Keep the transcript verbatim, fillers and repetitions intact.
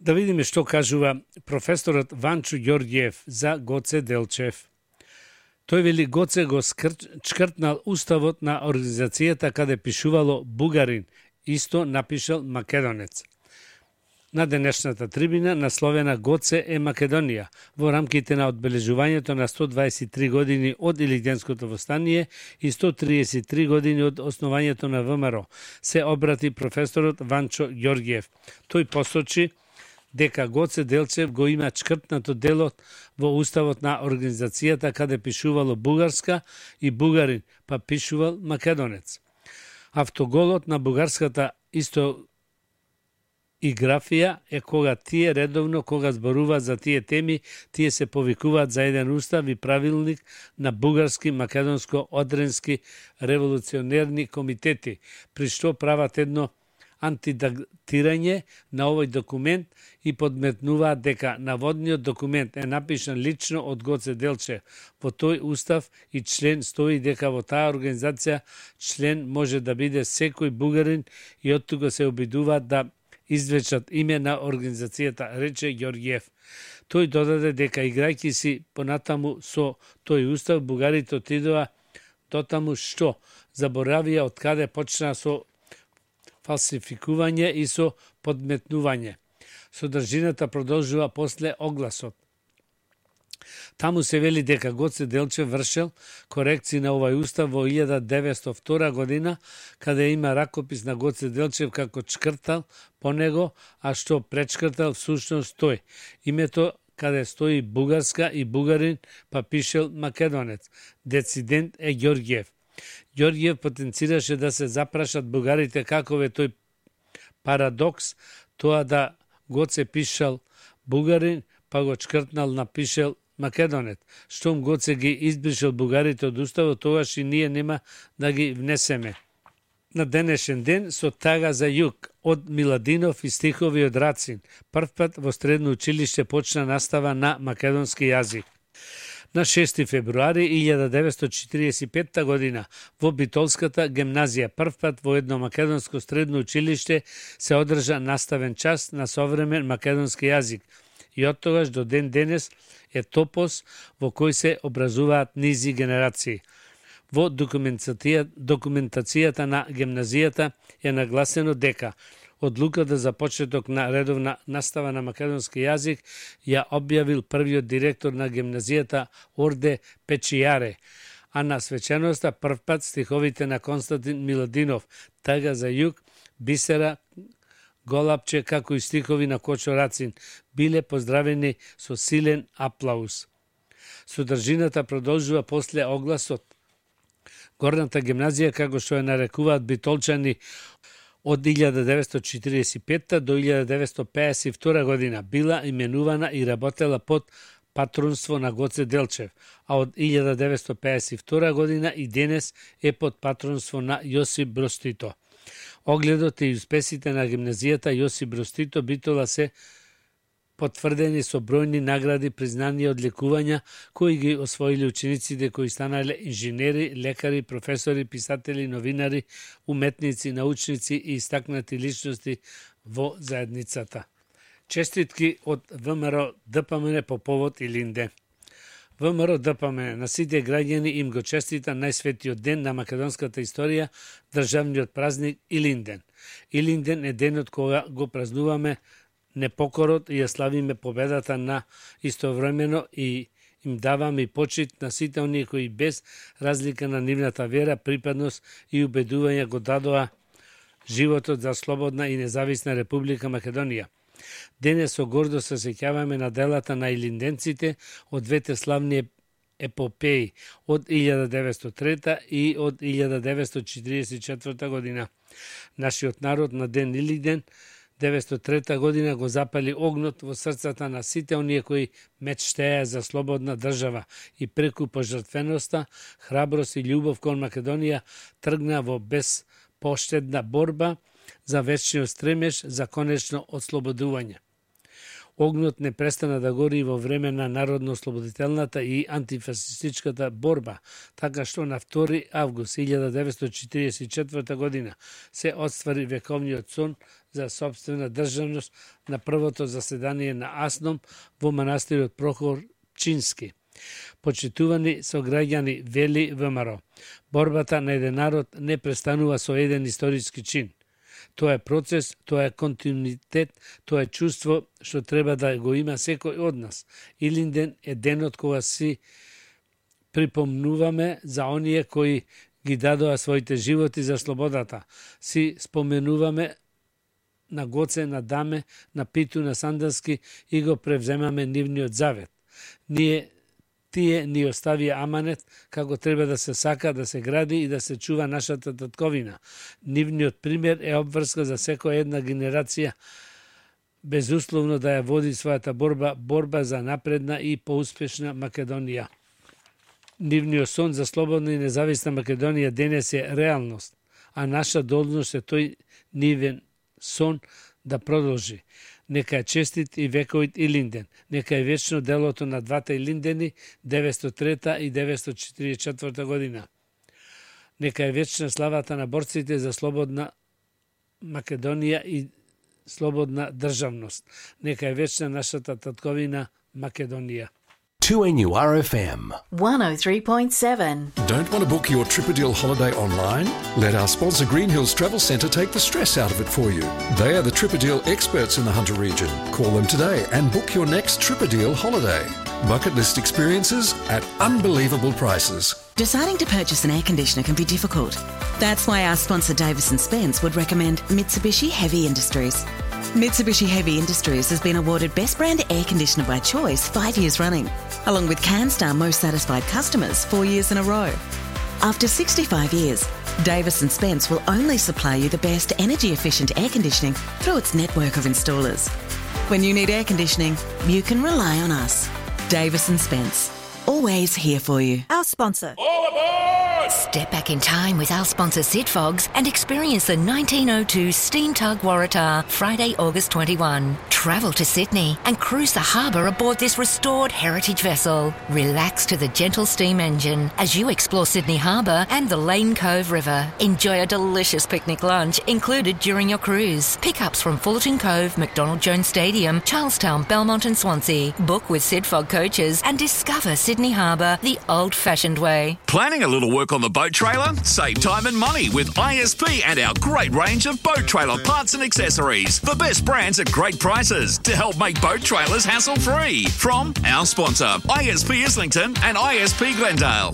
Да видиме што кажува професорот Ванчо Ѓорѓиев за Гоце Делчев. Тој вели Гоце го чкртнал уставот на организацијата каде пишувало бугарин, исто напишал македонец. На денешната трибина насловена Гоце е Македонија, во рамките на одбележувањето на сто дваесет и три години од Илинденското востание и сто триесет и три години од основањето на ВМРО, се обрати професорот Ванчо Ѓорѓиев. Тој посочи дека Гоце Делчев го има чкртнато делот во уставот на организацијата каде пишувало бугарска и бугарин, па пишувал македонец. Автоголот на бугарската исто и графија е кога тие редовно, кога зборуваат за тие теми, тие се повикуваат за еден устав и правилник на бугарски, македонско, одренски револуционерни комитети, при што прават едно антидатирање на овој документ и подметнуваат дека наводниот документ е напишан лично од Гоце Делчев. Во тој устав и член стои дека во таа организација член може да биде секој бугарин и оттука се обидуваат да извечат име на организацијата, рече Ѓорѓиев. Тој додаде дека играјќи си понатаму со тој устав, бугарите отидоа дотаму што заборавија од каде почна со фалсификување и со подметнување. Содржината продолжува после огласот. Таму се вели дека Гоце Делчев вршел корекции на овај устав во илјада деветстотини и втора година, каде има ракопис на Гоце Делчев како чкртал по него, а што пречкртал всушност тој. Името каде стои бугарска и бугарин, па пишел македонец. Децидент е Ѓорѓиев. Ѓорѓиев потенцираше да се запрашат бугарите каков е тој парадокс, тоа да Гоце пишал бугарин, па го чкртнал напишел македонец. Штом Гоце ги избришал бугарите од уставот, тогаш и ние нема да ги внесеме. На денешен ден со Тага за југ од Миладинов и стихови од Рацин. Првпат во средно училиште почна настава на македонски јазик. На шести февруари илјада деветстотини четиридесет и петта година во Битолската гимназија првпат во едно македонско средно училиште се одржа наставен час на современ македонски јазик и од тогаш до ден денес е топос во кој се образуваат низи генерации. Во документацијата на гимназијата е нагласено дека одлуката за почеток на редовна настава на македонски јазик ја објавил првиот директор на гимназијата Орде Печијаре, а на свеченоста првпат стиховите на Константин Миладинов, Тага за југ, Бисера Голапче, како и стихови на Кочо Рацин, биле поздравени со силен аплауз. Содржината продолжува после огласот. Горната гимназија, како што ја нарекуваат битолчани, од илјада деветстотини четиридесет и петта до илјада деветстотини пеесет и втора година била именувана и работела под патронство на Гоце Делчев, а од илјада деветстотини пеесет и втора година и денес е под патронство на Јосип Броз Тито. Огледот и успесите на гимназијата Јосип Броз Тито Битола се потврдени со бројни награди, признани и одлекувања кои ги освоили учениците кои станале инженери, лекари, професори, писатели, новинари, уметници, научници и истакнати личности во заедницата. Честитки од ВМРО ДПМН по повод Илинден. ВМРО ДПМН на сите граѓани им го честита најсветиот ден на македонската историја, државниот празник Илинден. Илинден е денот кога го празнуваме непокорот и ја славиме победата на истовремено и им даваме и почит на сите оние кои без разлика на нивната вера, припадност и убедување го дадоа животот за слободна и независна Република Македонија. Денес со гордост се сеќаваме на делата на илинденците од двете славни епопеи од илјада деветстотини и трета и од илјада деветстотини четиридесет и четврта година. Нашиот народ на ден Илинден деветстотини и трета година го запали огнот во срцата на сите оние кои мечтеа за слободна држава и преку пожртвеноста, храброст и љубов кон Македонија тргна во безпоштедна борба за вечниот стремеж за конечно ослободување. Огнот не престана да гори во време на народно-ослободителната и антифасистичката борба, така што на втори август илјада деветстотини четиридесет и четврта година се оствари вековниот сон за сопствена државност на првото заседание на АСНОМ во манастирот Прохор Чински. Почитувани сограѓани, вели ВМРО, борбата на еден народ не престанува со еден историски чин. Тоа е процес, тоа е континуитет, тоа е чувство што треба да го има секој од нас. Илинден е денот кога си припомнуваме за оние кои ги дадоа своите животи за слободата. Си споменуваме на Гоце, на Даме, на Питу, на Сандански и го превземаме нивниот завет. Ние Тие ни оставија аманет како треба да се сака, да се гради и да се чува нашата татковина. Нивниот пример е обврска за секоја една генерација безусловно да ја води својата борба, борба за напредна и поуспешна Македонија. Нивниот сон за слободна и независна Македонија денес е реалност, а наша должност е тој нивен сон да продолжи. Нека е честит и вековит Илинден. Нека е вечно делото на двата Илиндени деветстотини и трета и деветстотини и четиридесет и четврта година. Нека е вечна славата на борците за слободна Македонија и слободна државност. Нека е вечна нашата татковина Македонија. two N U R F M one oh three point seven. Don't want to book your Tripadil holiday online? Let our sponsor Green Hills Travel Centre take the stress out of it for you. They are the Tripadil experts in the Hunter region. Call them today and book your next Tripadil holiday. Bucket list experiences at unbelievable prices. Deciding to purchase an air conditioner can be difficult. That's why our sponsor Davis and Spence would recommend Mitsubishi Heavy Industries. Mitsubishi Heavy Industries has been awarded Best Brand Air Conditioner by Choice five years running, along with CanStar Most Satisfied Customers four years in a row. After sixty-five years, Davis and Spence will only supply you the best energy-efficient air conditioning through its network of installers. When you need air conditioning, you can rely on us. Davis and Spence, always here for you. Our sponsor. All aboard! Step back in time with our sponsor Sid Fogs and experience the nineteen oh two Steam Tug Waratah Friday, August twenty-first. Travel to Sydney and cruise the harbour aboard this restored heritage vessel. Relax to the gentle steam engine as you explore Sydney Harbour and the Lane Cove River. Enjoy a delicious picnic lunch included during your cruise. Pickups from Fullerton Cove, McDonald Jones Stadium, Charlestown, Belmont and Swansea. Book with Sid Fog coaches and discover Sydney Harbour the old-fashioned way. Planning a little work on the boat trailer? Save time and money with I S P and our great range of boat trailer parts and accessories. The best brands at great prices to help make boat trailers hassle-free. From our sponsor, I S P Islington and I S P Glendale.